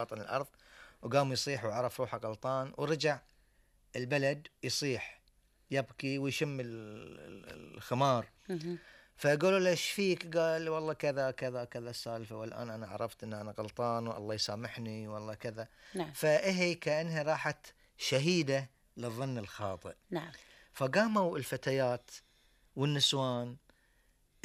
باطن الأرض، وقام يصيح وعرف روحه غلطان، ورجع البلد يصيح يبكي ويشم الخمار. فقالوا له ايش فيك؟ قال والله كذا كذا كذا السالفة، والآن أنا عرفت أن أنا غلطان والله يسامحني والله كذا. نعم. فهي كأنها راحت شهيدة للظن الخاطئ. نعم. فقاموا الفتيات والنسوان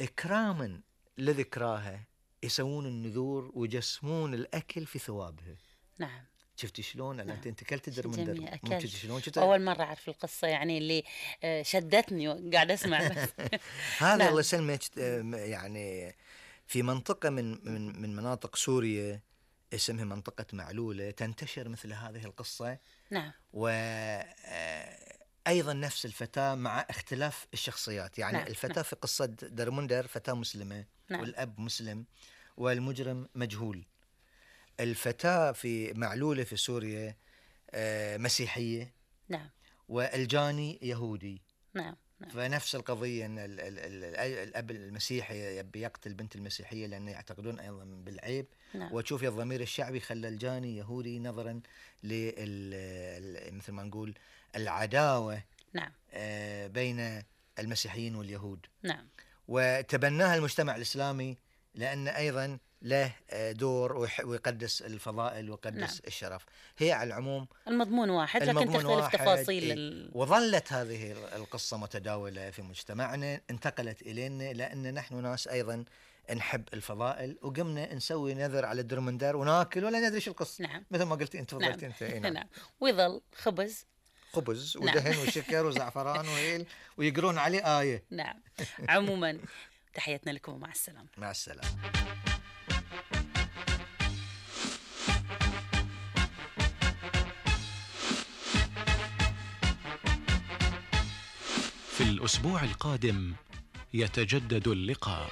إكراما لذكراها يسوون النذور ويجسمون الأكل في ثوابها. نعم. شفتي شلون؟ نعم. أنت كلت درمندر؟ شفت أول مرة أعرف القصة يعني اللي شدتني وقاعد أسمع بس. هذا نعم. الله يسلمك. يعني في منطقة من مناطق سوريا اسمها منطقة معلولة تنتشر مثل هذه القصة. نعم. أيضا نفس الفتاة مع اختلاف الشخصيات. يعني نعم. الفتاة نعم. في قصة درمندر فتاة مسلمة. نعم. والأب مسلم والمجرم مجهول. الفتاة في معلولة في سوريا مسيحية. نعم. والجاني يهودي. نعم. نعم. فنفس القضية أن الأب المسيحي يبي يقتل بنت المسيحية لأنه يعتقدون أيضا بالعيب. نعم. وتشوف الضمير الشعبي خلى الجاني يهودي نظرا مثل ما نقول العداوة. نعم. بين المسيحيين واليهود. نعم. وتبناها المجتمع الإسلامي لأن أيضا له دور ويقدس الفضائل ويقدس نعم. الشرف. هي على العموم المضمون واحد لكن تختلف تفاصيل وظلت هذه القصة متداولة في مجتمعنا، انتقلت إلينا لأن نحن ناس أيضا نحب الفضائل، وقمنا نسوي نذر على الدرمندر وناكل ولا ندري شو القصة. نعم. مثل ما قلتي أنت فضلت. نعم. أنت نعم. نعم. ويظل خبز ودهن نعم. وشكر وزعفران وهيل ويقرون عليه آية. نعم. عموما تحياتنا لكم ومع السلامة. مع السلامة. في الأسبوع القادم يتجدد اللقاء.